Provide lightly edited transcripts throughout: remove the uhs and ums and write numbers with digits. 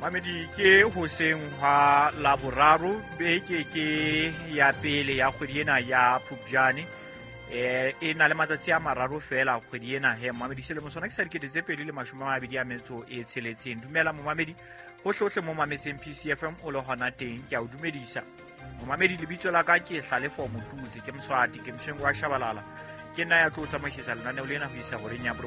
Mamedi ke hoseng hwa Laboraro, beke ke ya pele ya kgwedi ena ya Phupjane. E na le matsatsi a mararo fela kgwedi ena he momamedi. Selemo sona ke sa 2026. Dumela momamedi, hohlehohle mo mametseng PCFM o le hona teng, ke a o dumedisa. Momamedi, lebitso la ka ke Hlalefo Motutse, ke Moswati, ke Moshengo wa Shabalala. Ke nna ya tlo tsamaisisa lenaneo lena ho isa horeng ya 9.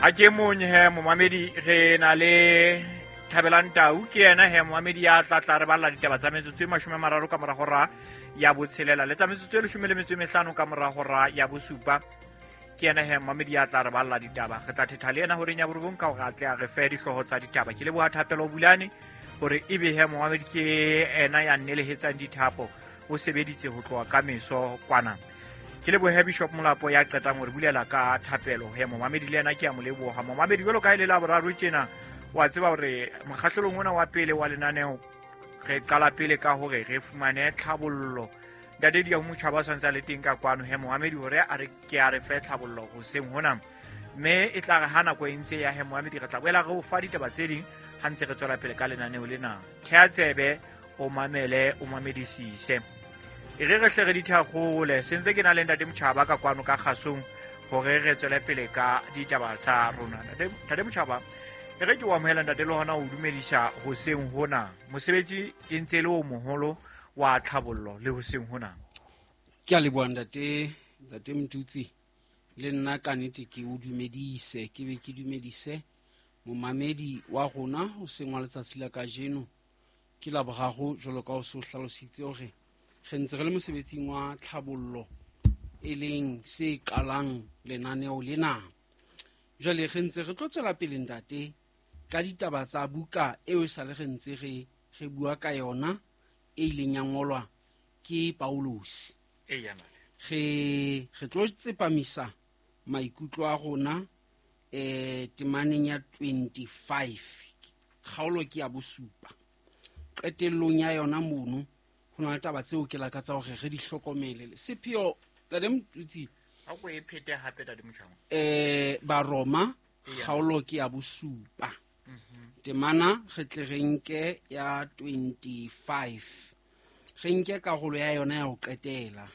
Ha ke monye he momamedi, re na le Thabelang Tau, ke yena he momamedi ya tla tla re balla ditaba tsa metsotso e 30 ka mora hora ya 6, le tsa metsotso e 15 ka mora hora ya 7. Ke yena he momamedi ya tla re balla ditaba. Re tla thetha le yena horeng ya 9 ka hore a tle a re fe dihlooho tsa ditaba. Ke leboha Thapelo Bulane hore ebe he momamedi ke ena ya nnelehetsang dithapo, o sebeditse ho tloha ka meso kwana. Ke lebohe Bishop Molapo ya qetang hore bulela ka thapelo he momamedi, le yena ke a mo leboha. Momamedi, jwalo ka e le Laboraro tjena, wa tseba hore mokgahlelong ona wa pele wa lenaneo re qala pele ka hore re fumane tlhabollo. Ntate Diaho Motjhaba o santse a le teng ka kwano he momamedi, hore a re ke a re fe tlhabollo hoseng hona, mme e tla re ha nako e ntse ya he momamedi, re tla boela re o fa ditaba tse ding ha ntse re tswela pele ka lenaneo lena. Thea tsebe, o mamele, o mamedisise. E re re hle re dithakgole, sentse ke na le ntate Motjhaba ka kwano ka kgasong hore re tswele pele ka ditaba tsa rona. Ntate Motjhaba, e re ke o amohela ntate le hona o dumedisa hoseng hona. Mosebetsi e ntse e le o moholo wa tlhabollo le hoseng hona. Ke a leboha ntate, ntate Motutsi, le nna ka nnete ke o dumedise, ke be ke dumedise momamedi wa rona hoseng wa letsatsi la kajeno. Ke Laboraro jwalo ka o se o hlalositse hore re ntse re le mosebetsing wa tlhabollo, e leng se qalang lenaneo lena. Jwale re ntse re tlo tswela pele ntate ka ditaba tsa buka eo e sale re ntse re re bua ka yona, e ileng ya ngolwa ke Paulus. Re re tlo tsepamisa maikutlo a rona temaneng ya 25, kgaolo ke ya 7. Qetellong ya yona mono ho na le taba tseo ke lakatsa hore re di hlokomele. Sepheo ntate Motutsi, Ha ko e phete hape ntate Motjhaba. Baroma kgaolo ke ya 7. Temana re tle re nke ya 25. Re nke karolo ya yona ya ho qetela.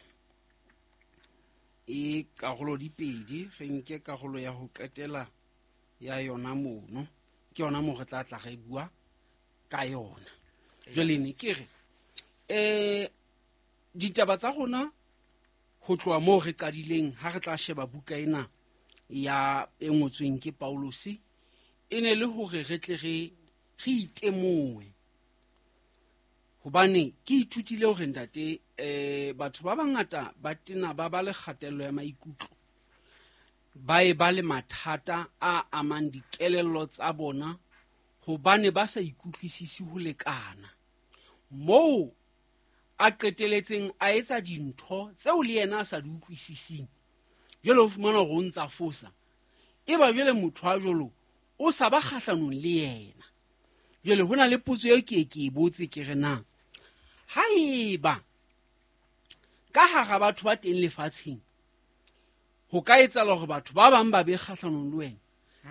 E karolo di pedi, re nke karolo ya ho qetela ya yona mono. Ke yona moo re tla tla re bua ka yona. Jwale ne ke re ditaba tsa rona ho tloha moo re qadileng ha re tla sheba buka ena ya e ngotsweng ke Paulus, e ne le hore re tle re re itemohe. Hobane ke ithutile hore ntate batho ba bangata ba tena ba ba le kgatello ya maikutlo, ba e ba le mathata a amang dikelello tsa bona hobane ba sa ikutlwisisi ho lekana. Moo a qeteletseng a etsa dintho tseo le yena a sa di utlwisising, jwale o fumana hore o ntsa fosa. E ba jwale motho a jwalo o sa ba kgahlanong le yena. Jwale ho na le potso eo ke ke e botse, ke re na haeba ka hara batho ba teng lefatsheng ho ka etsahala hore batho ba bang ba be kgahlanong le wena,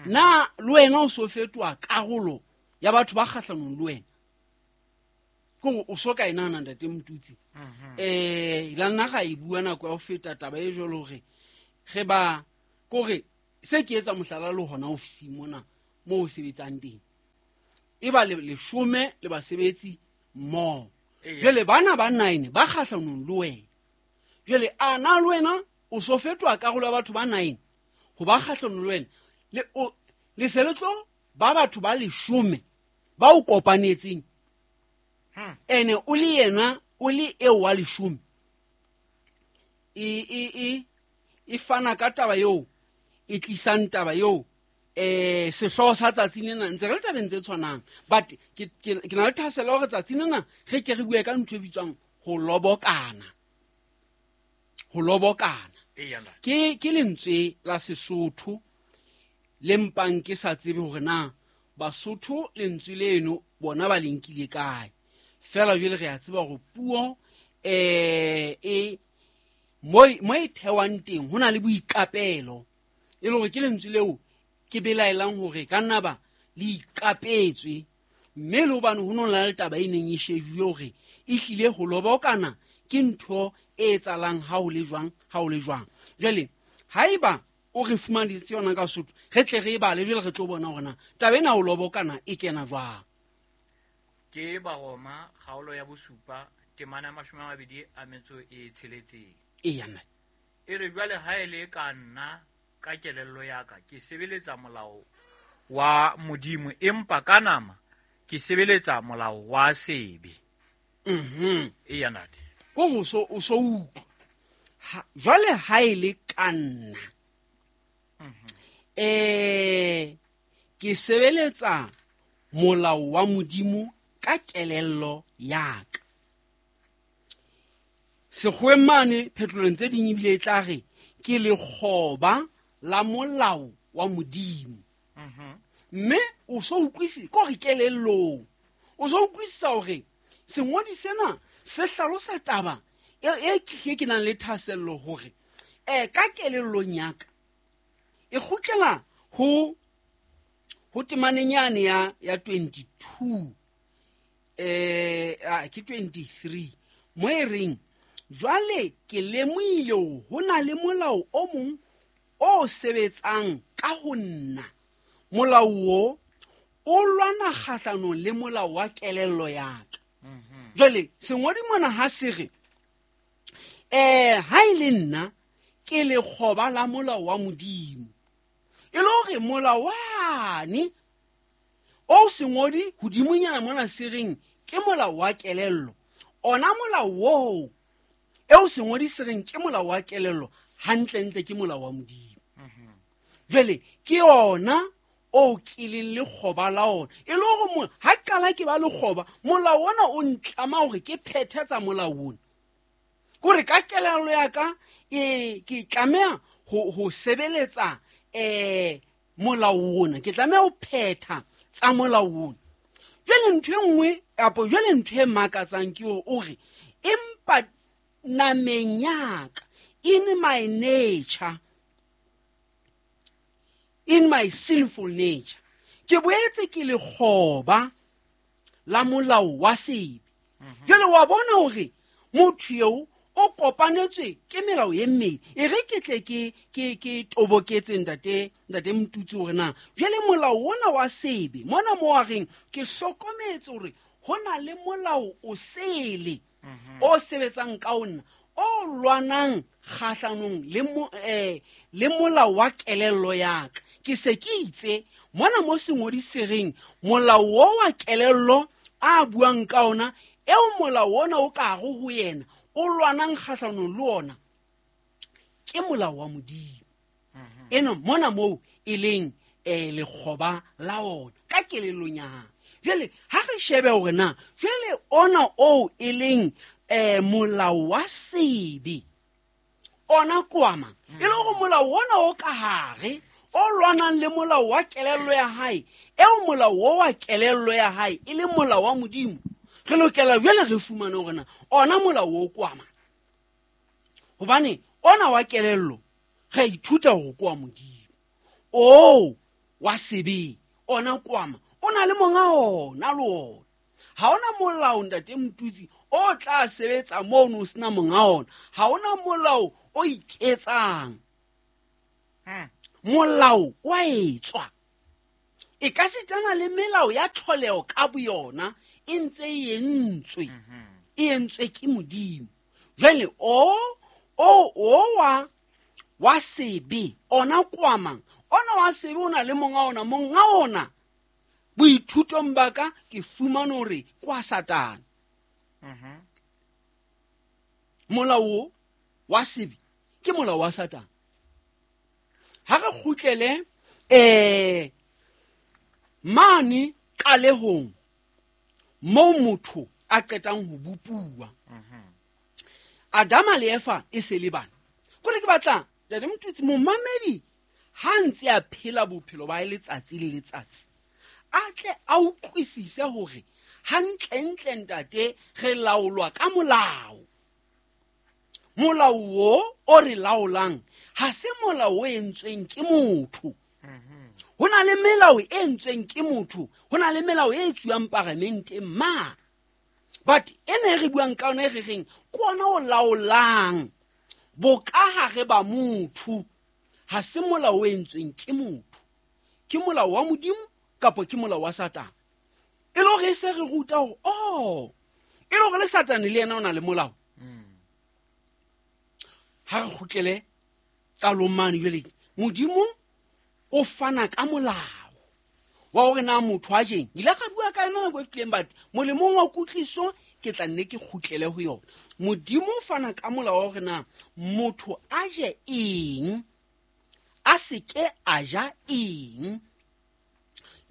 na le wena o so fetoha karolo ya batho ba kgahlanong le wena? Ke hore o so ka e nahana ntate Motutsi. La nna ga e bua nako ya ho feta taba e jwalo hore re ba kore se ke etsa mohlala le hona ofising mona moo o sebetsang teng, e ba le leshome le basebetsi mmoho. Jwale bana ba 9 ba kgahlanong le wena. Jwale a na le wena o so fetoha karolo ya batho ba 9 ho ba kgahlanong le wena, le o le se le tlo ba batho ba leshome ba o kopanetseng. Ene o le yena o le eo wa leshome. E fana ka taba eo, e tlisang taba eo, sehlooho sa tsatsi lena ntse re le tabeng tse tshwanang, but ke na le thahasello hore tsatsi lena re ke re bue ka ntho e bitswang ho lobokana. Ho lobokana. Ke lentswe la Sesotho le mpang ke sa tsebe hore na Basotho lentswe leno bona ba le nkile kae. Fela jwale re a tseba hore puo e mo e thewang teng ho na le boiqapelo. E le hore ke lentswe leo ke belaelang hore ka nna ba le iqapetswe, mme le hobane ho no na le taba e neng e shejuwe hore e hlile ho lobokana ke ntho e etsahalang ha ho le jwang, ha ho le jwang. Jwale haeba o re fumaneditse yona ka Sotho, re tle re e bale, jwale re tlo bona hore na taba ena ho lobokana e kena jwang. Ke Baroma kgaolo ya bosupa temana ya 26. Eya, nna. E re jwale ha e le ka nna ka kelello ya ka ke sebeletsa molao wa Modimo, empa ka nama ke sebeletsa molao wa sebe. Eya, ntate. Ko go so o so utlwa. Jwale ha e le ka nna, ke sebeletsa molao wa Modimo ka kelello ya ka. Sekgoweng mane phetolong tse ding ebile e tla re ke lekgoba la molao wa Modimo. Mme o so utlwisi ke hore kelellong o so utlwisisa hore sengodi sena se hlalosa taba e ke ke nang le thahasello hore ka kelellong ya ka e kgutlela ho temaneng yane ya 22, ke 23, mo e reng jwale ke lemohile hore ho na le molao o mong o sebetsang ka ho nna. Molao o o lwana kgahlanong le molao wa kelello ya ka. Jwale sengodi mona ha se re ha e le nna ke lekgoba la molao wa Modimo, e le hore molao wane o sengodi hodimonyana mona se reng ke molao wa kelello, ona molao oo eo sengodi se reng ke molao wa kelello hantlentle ke molao wa Modimo. Jwale ke ona o ke leng lekgoba la ona, e le hore ha qala ke ba lekgoba, molao ona o ntlama hore ke phethe tsa molao ona. Kore ka kelello ya ka ke tlameha ho sebeletsa molao ona, ke tlameha ho phetha tsa molao ona. Jwale ntho e nngwe kapa jwale ntho e makatsang ke hore o re empa nameng ya ka, in my nature, in my sinful nature, ke boetse ke lekgoba la molao wa sebe. Jwale wa bona hore motho eo o kopanetswe ke melao e mmedi. E re ke tle ke toboketse ntate Mtutsi hore na jwale molao ona wa sebe mona mo wa reng ke hlokometse hore ho na le molao o sele o sebetsang ka ona o lwanang kgahlanong le molao wa kelello ya ka. Ke se ke itse mona mo sengodi se reng molao o wa kelello a buang ka ona, eo molao ona o ka re ho yena o lwanang kgahlanong le ona ke molao wa Modimo. Eno mona moo e leng lekgoba la ona ka kelellong ya hae. Jwale ha re shebe hore na jwale ona oo e leng molao wa sebe ona kwama, e le hore molao ona o ka hare o lwanang le molao wa kelello ya hae, eo molao o wa kelello ya hae e le molao wa Modimo, re lokela jwale re fumane hore na ona molao o kwama. Hobane ona wa kelello re ithuta hore kwa Modimo, o wa sebe ona kwama o na le monga ona le ona. Ha ona molao ntate Mtutsi o tla sebetsa mono o sena monga ona. Ha ona molao o iketsang. Molao wa etswa. E ka sitana le melao ya tlholeho ka boyona e ntse e entswe. E entswe ke Modimo. Jwale o wa sebe ona kwamang, ona wa sebe o na le monga ona, monga ona boithutong ba ka ke fumane hore kwa Satane. Molao wa sebe ke molao wa Satane. Ha re kgutlele mane qalehong moo motho a qetang ho bopuwa. Adama le Eva e se le bana. Kore ke batla ntate Mtutsi momamedi ha ntse a phela bophelo ba letsatsi le letsatsi, a tle a utlwisise hore hantlentle ntate re laolwa ka molao. Molao o re laolang Ha se molao o entsweng ke motho. Ho na le melao e entsweng ke motho, ho na le melao e etsuwang paramenteng ma. But ena e re buang ka yona e re reng ke ona o laolang bokahare ba motho, ha se molao o entsweng ke motho. Ke molao wa Modimo kapa ke molao wa Satane. E le hore e se re ruta hore, oh, e le hore le Satane le yena o na le molao. Ha re kgutlele qalong mane jwale, Modimo o fana ka molao wa hore na motho a jeng. Ile ka bua ka yona nako e fetileng, but molemong wa kutlwiso ke tla nne ke kgutlele ho yona. Modimo o fana ka molao wa hore na motho a je eng, a se ke a ja eng.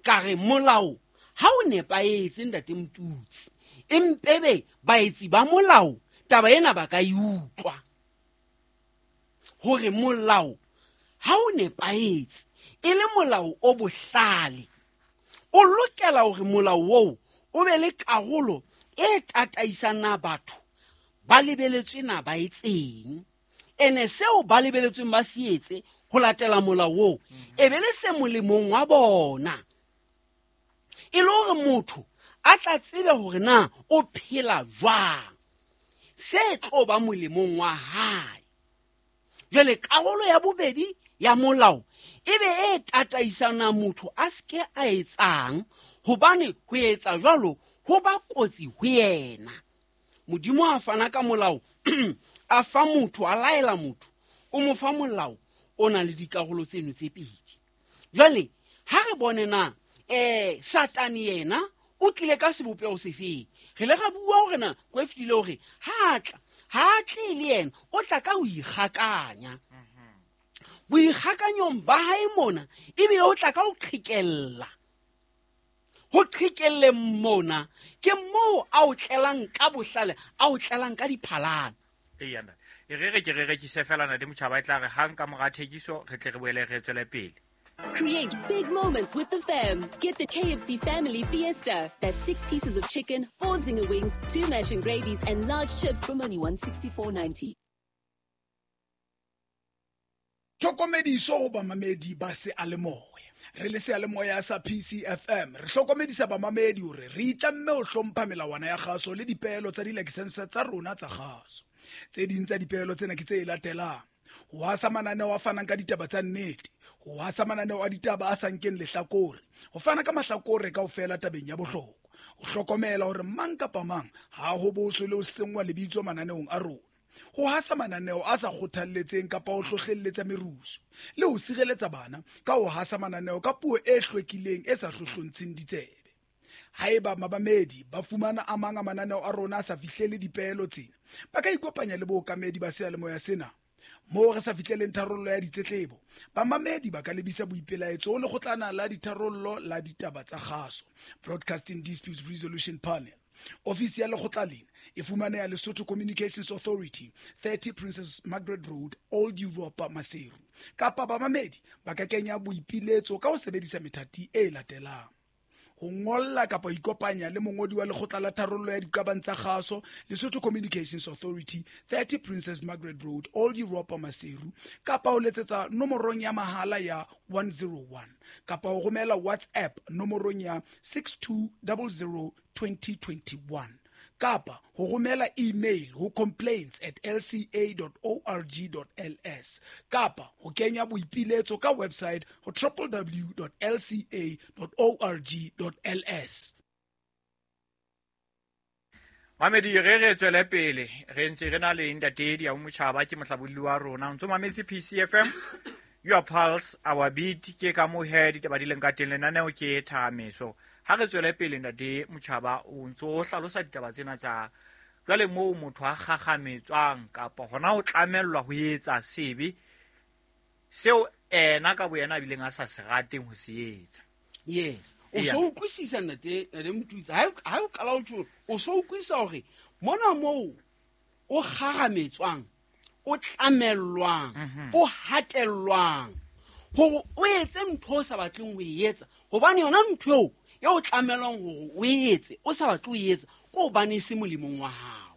Ka re molao ha o nepahetse ntate Motutsi, empebe baetsi ba molao taba ena ba ka e utlwa hore molao ha o nepahetse e le molao o bohlale, o lokela hore molao oo o be le karolo e tataisang na batho ba lebeletswe na ba etseng, ene seo ba lebeletsweng ba se etse ho latela molao oo e be le se molemong wa bona, e le hore motho a tla tsebe hore na o phela jwang, se tlo ba molemong wa hae. Jwale karolo ya bobedi ya molao e be e tataisang motho a se ke a etsang, hobane ho etsa jwalo ho ba kotsi ho yena. Modimo a fana ka molao, a fa motho, a laela motho, o mo fa molao o nang le dikarolo tseno tse pedi. Jwale ha re bone na Satane yena o tlile ka sebopeho sefeng. Re le ra bua hore na ko e fetile hore ha tla, ha tle le yena, o tla ka ho ikgakanya. Boikgakanyong ba hae mona ebile o tla ka ho qhekella. Ho qhekelleng mona ke moo a o tlelang ka bohlale, a o tlelang ka diphalana. Eya, ntate. E re re ke re rekise fela ntate Motjhaba, e tla re hang ka mora thekiso re tle re boele re tswele pele. Create big moments with the fam. Get the KFC Family Fiesta. That's 6 pieces of chicken, 4 zinger wings, 2 mash and gravies, and large chips from only $164.90. Tlhokomediso ho bamamedi ba seyalemoya. Re le seyalemoya sa PCFM, re hlokomedisa bamamedi hore re itlamme ho hlompha melawana ya kgaso le dipeelo tsa dilakesense tsa rona tsa kgaso. Tse ding tsa dipeelo tsena ke tse latelang: ho hasa mananeo a fanang ka ditaba tsa nnete, ho hasa mananeo a ditaba a sa nkeng lehlakore, ho fana ka mahlakore kaofela tabeng ya bohlokwa, ho hlokomela hore mang kapa mang ha ho boswe le ho senngwa lebitso mananeong a rona, ho hasa mananeo a sa kgothalletseng kapa ho hlohlelletsa merusu, le ho sireletsa bana ka ho hasa mananeo ka puo e hlwekileng e sa hlohlontsheng ditsebe. Haeba mabamedi ba fumana a mang a mananeo a rona a sa fihlele dipeelo tsena, ba ka ikopanya le bookamedi ba seyalemoya sena. Moo re sa fihleleng tharollo ya ditletlebo, bamamedi ba ka lebisa boipelaetso ho lekgotlana la ditharollo la ditaba tsa kgaso, Broadcasting Disputes Resolution Panel. Ofisi ya lekgotla lena e fumaneha Lesotho Communications Authority, 30 Princess Margaret Road, Old Europa, Maseru. Kapa bamamedi ba ka kenya boipiletso ka ho sebedisa methati e latelang: ho ngolla kapa ho ikopanya le mongodi wa lekgotla la tharollo ya diqabang tsa kgaso, Lesotho Communications Authority, 30 Princess Margaret Road, Old Europa, Maseru, kapa ho letsetsa nomorong ya mahala ya 101, kapa ho romela WhatsApp nomorong ya 6200 2021, kapa ho romela email ho complaints@lca.org.ls, kapa ho kenya boipiletso ka website ho www.lca.org.ls. Mamedi, re re tswele pele, re ntse re na le ntate Diau Motjhaba, ke mohlabolli wa rona. O ntso mametse PCFM, your pulse, our beat. Ke ka moo he ditaba di leng ka teng, lenaneo ke Thahameso. Ha re tswele pele ntate Motjhaba, o ntso o hlalosa ditaba tsena tsa jwale moo motho a kgakgametswang kapa hona ho tlamellwa ho etsa sebe seo ena ka boyena a bileng a sa se rateng ho se etsa. Yes. O so utlwisisa ntate Motutsi, ha o qala ho tjho, o so utlwisisa hore mona moo o kgarametswang, o tlamellwang, o hatellwang hore o etse ntho o sa batleng ho e etsa, hobane yona ntho eo e o tlamellwang hore o e etse o sa batle ho e etsa ke hobane e se molemong wa hao.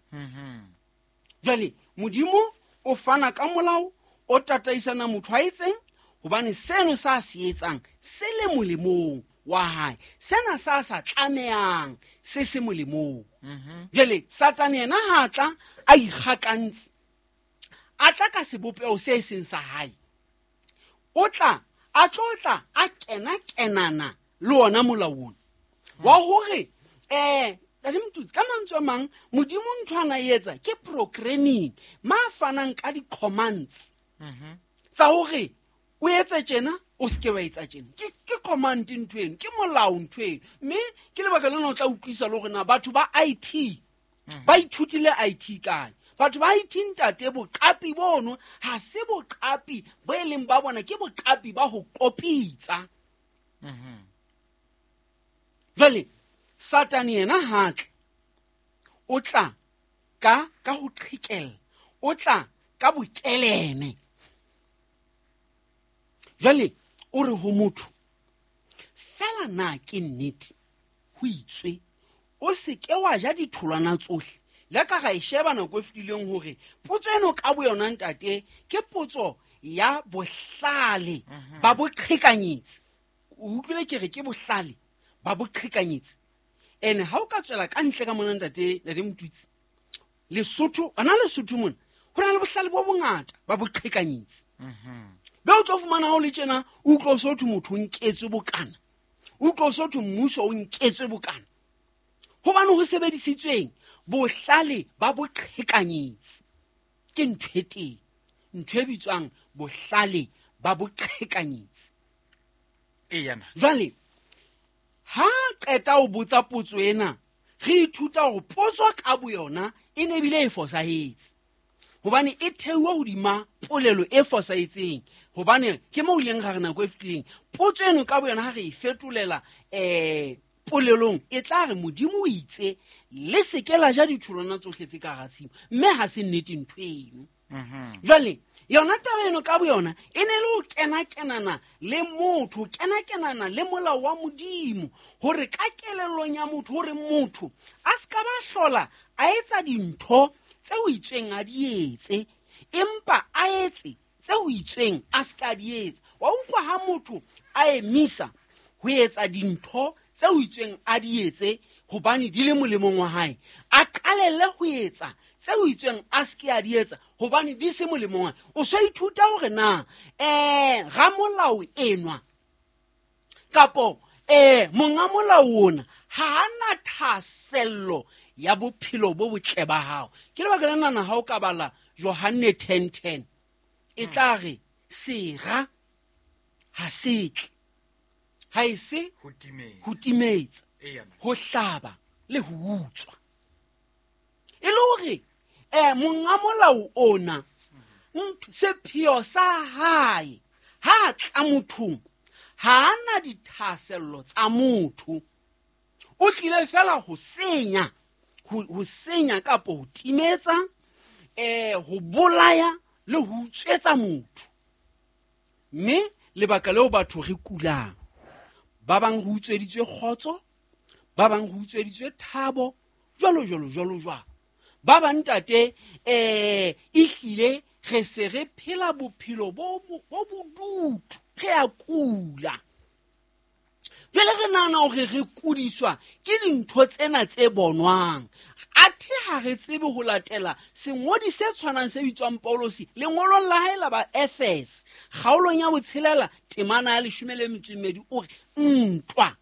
Jwale Modimo o fana ka molao O tataisana motho a etseng hobane seno sa se etsang se le molemong wa hae, sena sa sa tlamehang se se molemong. Jwale Satane yena ha tla a ikgakantse, a tla ka sebopeho se seng sa hae, o tla a tlo tla a kena kenana le ona molao ona wa hore Ntate Motutsi, ka mantswe a mang Modimo ntho ana e etsa ke programming ma fanang ka di-commands tsa hore o etse tjena o seke wa etsa tjena. Ke command ntho eno, ke molao ntho eno. Mme ke lebaka lena o tla utlwisa le hore na batho ba IT ba ithutile IT kae. Batho ba IT ntate, boqapi bono ha se boqapi bo e leng ba bona, ke boqapi ba ho kopitsa. Jwale Satane yena ha tle, o tla ka ho qhekella, o tla ka bokeleme. Jwale o re ho motho, fela na ke nnete ho itswe o se ke wa ja ditholwana tsohle. Le ka ga e sheba nako e fetileng hore potso eno ka bo yona ntate ke potso ya bohlale ba boqhekanyetsi. O utlwile ke re ke bohlale ba boqhekanyetsi. Ene ha o ka tswela ka ntle ka mona ntate Motutsi, Lesotho, ana Lesotho mona ho na le bohlale bo bongata ba boqhekanyetsi. Be o tlo fumana ha o le tjena, o utlwa o so thwe motho o nketswe bokana, o utlwa o so thwe mmuso o nketswe bokana, hobane ho sebedisitsweng bohlale ba boqhekanyetsi. Ke ntho e teng, ntho e bitswang bohlale ba boqhekanyetsi. Jwale ha qeta ho botsa potso ena, re ithuta hore potso ka boyona e ne bile e fosahetse, hobane e theuwe hodima polelo e fosahetseng. Hobane ke moo ileng ra re nako e fetileng, potso eno ka boyona ha re e fetolela polelong, e tla re Modimo o itse le se ke la ja ditholwana tsohle tse ka hara tshimo, mme ha se nnete ntho eno. Jwale yona taba eno ka boyona e ne le ho kena-kenana le motho, ho kena-kenana le molao wa Modimo, hore ka kelellong ya motho, hore motho a se ka ba hlola a etsa dintho tse o itsweng a di etse, empa a etse tse o itsweng a se ka di etsa. Wa utlwa ha motho a emisa ho etsa dintho tse o itsweng a di etse hobane di le molemong wa hae, a qalelle ho etsa tse o itsweng a se ke a di etsa hobane di se molemong wa hae. O so ithuta hore na ramolao enwa kapo monga molao ona ha ana thahasello ya bophelo bo botle ba hao. Ke lebaka lena na ha o ka bala Johanne 10:10, e tla re sera ha se tle, ha e se ho timetsa, ho hlaba le ho utswa. E le hore monga molao ona sepheo sa hae ha tla mothong, ha ana dithahasello tsa motho, o tlile fela ho senya, ho senya kapo ho timetsa, ho bolaya le ho utswetsa motho. Mme lebaka leo batho re kulang, ba bang re utsweditswe kgotso, ba bang re utsweditswe thabo, jwalo jwalo jwalo jwalo. Ba bang ntate ehlile re se re phela bophelo bo bodutu, re a kula. Jwale re nahana hore re kudiswa ke dintho tsena tse bonwang, athe ha re tsebe ho latela sengodi se tshwanang se bitswang Paulosi lengolong la hae la ba Efes, kgaolong ya 6 temana ya 12, o re ntwa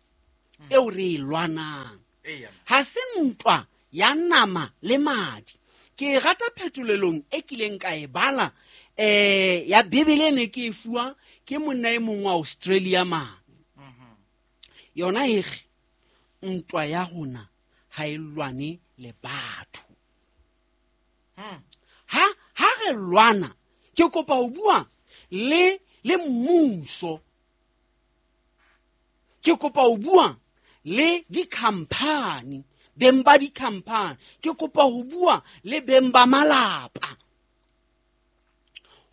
eo re e lwanang ha se ntwa ya nama le madi. Ke rata phetolelong e kileng ka e bala ya Bibele ne ke e fuwa ke monna e mong wa Australia mane. Yona e re ntwa ya rona ha e lwane le batho. Ha re lwana, ke kopa ho bua le mmuso, ke kopa ho bua le di-company, beng ba di-company, ke kopa ho bua le beng ba malapa,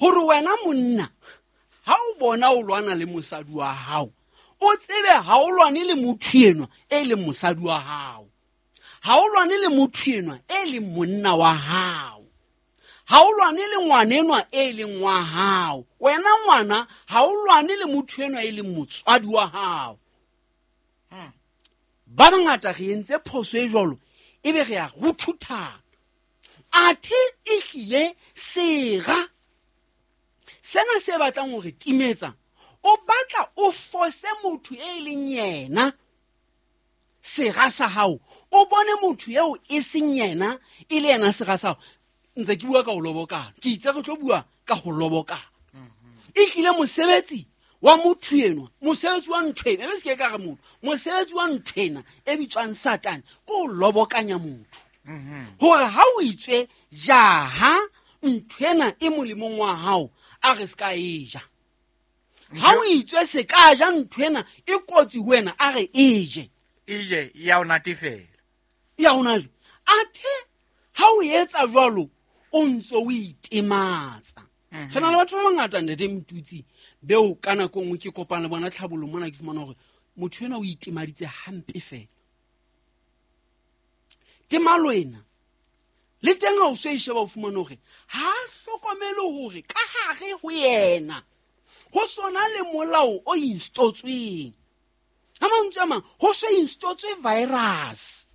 hore wena monna ha o bona o lwana le mosadi wa hao, o tsebe ha o lwane le motho enwa e leng mosadi wa hao, ha o lwane le motho enwa e leng monna wa hao, Ha o lwane le ngwanenwa e leng wa hao, wena ngwana ha o lwane le motho enwa e leng motswadi wa hao. Ba bangata re entse phoso e jwalo, ebe re a ruthuthana. Athe ehlile sera sena se batlang hore timetsa, o batla o fose motho e leng yena sera sa hao, o bone motho eo e seng yena e le yena sera sa hao. Ntse ke bua ka ho lobokana, ke itse re tlo bua ka ho lobokana. Ehlile mosebetsi wa motho enwa, mosebetsi wa ntho ena, e se ke ka re motho, mosebetsi wa ntho ena e bitswang Satane ke ho lobokanya motho. Hore ha o itswe jaha ntho ena e molemong wa hao, a re se ka e ja. Ha o itswe se ka ja ntho ena e kotsi ho wena, a re e je. E je ya o natefela. Ya o natefela. Athe ha o etsa jwalo, o ntso o itematsa. Re na le batho ba bangata ntate Mtutsi beo ka nako nngwe ke kopana le bona tlhabolong mona, ke fumana hore motho enwa o itemaditse hampe fela. Temalo ena le teng ha o so e sheba, o fumana hore ha a hlokomele hore ka hare ho yena ho sona le molao o instotsweng. Ha mantswe a mang, ho so instotswe virus.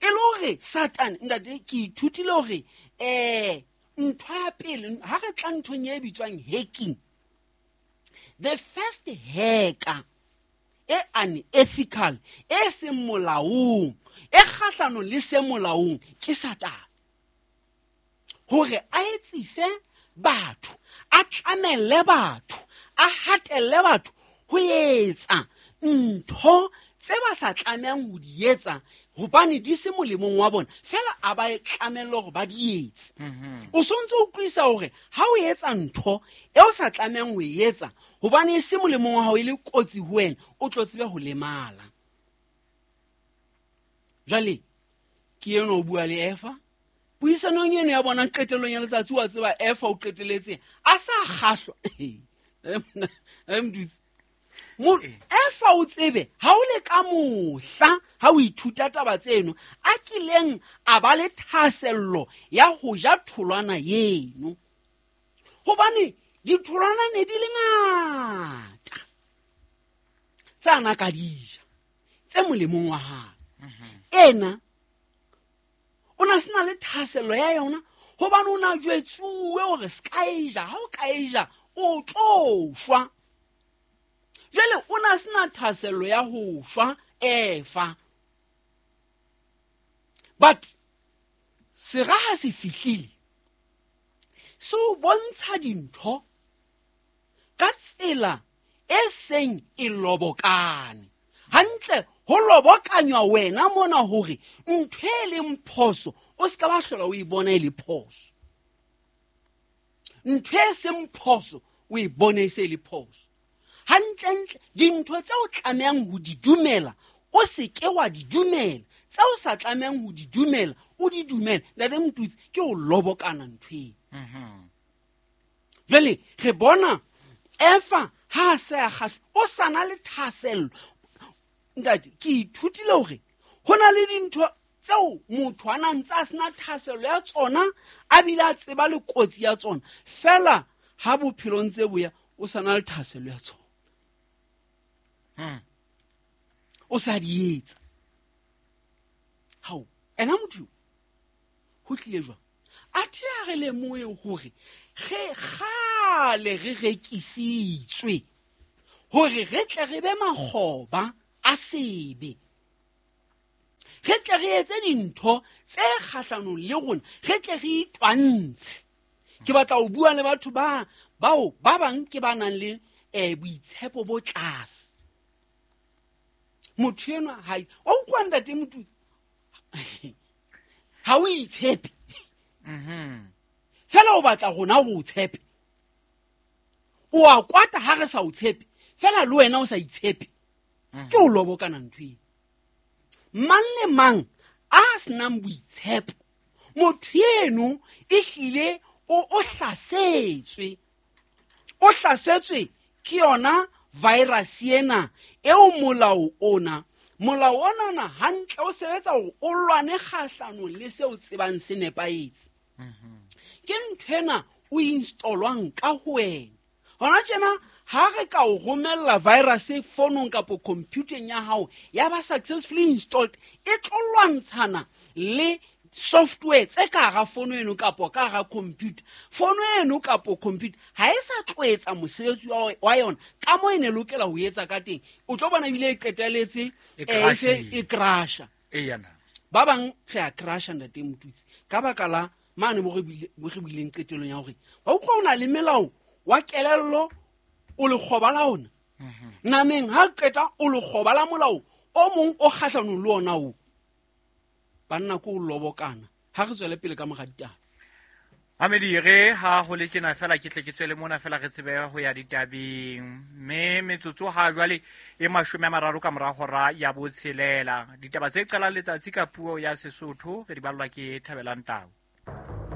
E le hore Satan, ntate, ke ithutile hore ntho ya pele ha re tla nthong e bitswang hacking, the first hacker e unethical, e seng molaong, e kgahlanong le se molaong, ke Satan. Hore a etsise batho, a tlamelle batho, a hatelle batho ho etsa ntho tse ba sa tlamehang ho di etsa hobane di se molemong wa bona, fela a ba e tlamelle hore ba di etse. O sontse o utlwisa hore ha o etsa ntho e o sa tlamehang ho e etsa hobane e se molemong wa hao, e le kotsi ho wena, o tlo tsebe ho lemala. Jwale ke eno o bua le Eva, puisanong eno ya bona qetellong ya letsatsi, wa tseba Eva o qetelletse a sa kgahlwa. Mdutsi. Efa o tsebe ha o le ka mohla ha o ithuta taba tseno a kileng a ba le thahasello ya ho ja tholwana eno, hobane ditholwana ne di le ngata tse a na ka di ja tse molemong wa hae. Ena o na sena le thahasello ya yona hobane o na jwetsuwe hore se ka e ja, ha o ka e ja o tlo shwa. Jwale o na sena thahasello ya ho shwa Efa. But sera ha se fihlile, se o bontsha dintho ka tsela e seng e lobokane. Hantle ho lobokanywa wena mona hore ntho e leng phoso o se ka ba hlola o e bona e le phoso. Ntho e seng phoso o e bone e se e le phoso. Hantlentle dintho tse o tlamehang ho di dumela o se ke wa di dumela, tse o sa tlamehang ho di dumela o di dumele. Ntate Mtutsi, ke o lobokana ntho eo. Jwale re bona Efa ha a se a kgahlwa, o sa na le thahasello. Ntate, ke ithutile hore ho na le dintho tseo motho a na ntse a sena thahasello ya tsona, a bile a tseba le kotsi ya tsona, fela ha bophelo ntse bo ya o sa na le thahasello ya tsona. O sa di etsa. Hao, ena motho ho tlile jwang? Athe a re lemohe hore re kgale re rekisitswe hore re tle re be makgoba a sebe, re tle re etse dintho tse kgahlanong le rona, re tle re itwantshe. Ke batla ho bua le batho ba bao ba bang ke ba nang le boitshepo bo tlase. Motho enwa ha o utlwa ntate Motutsi, ha o itshepe. Fela o batla rona ho o tshepe. O a kwata ha re sa o tshepe, fela le wena o sa itshepe. Ke o lobokana ntho eo. Mang le mang a senang boitshepo, motho eno ehlile o hlasetswe. O hlasetswe ke yona virus ena eo molao ona. Molao ona hantle o sebetsa hore o lwane kgahlanong le seo tsebang se nepahetse. Ke nthwena o installwang ka ho wena. Hona tjena ha re ka o romella virus fonong kapo computeng ya hao ya ba successfully installed, e tlo lwantshana le software tse ka hara fono eno kapo ka hara computer. Fono eno kapo computer ha e sa tlo etsa mosebetsi wa yona ka moo e ne lokela ho etsa ka teng. O tlo bona ebile e qetelletse E e se e crasha. Eya na. Ba bang re a crasha ntate Motutsi ka baka la mane mo re buileng qetellong ya hore wa utlwa o na le melao wa kelello o lekgoba la ona. Nameng ha qeta o lekgoba la molao o mong o kgahlanong le ona o. Banna ko o lobokana ha re tswele pele ka mora ditaba. Mamedi re ha ho le tjena fela ke tle ke tswele mona fela re tsebe ho ya ditabeng, mme metsotso ha jwale e 30 ka mora hora ya 6. Ditaba tse qalang letsatsi ka puo ya Sesotho re di ballwa ke Thabelang Tau.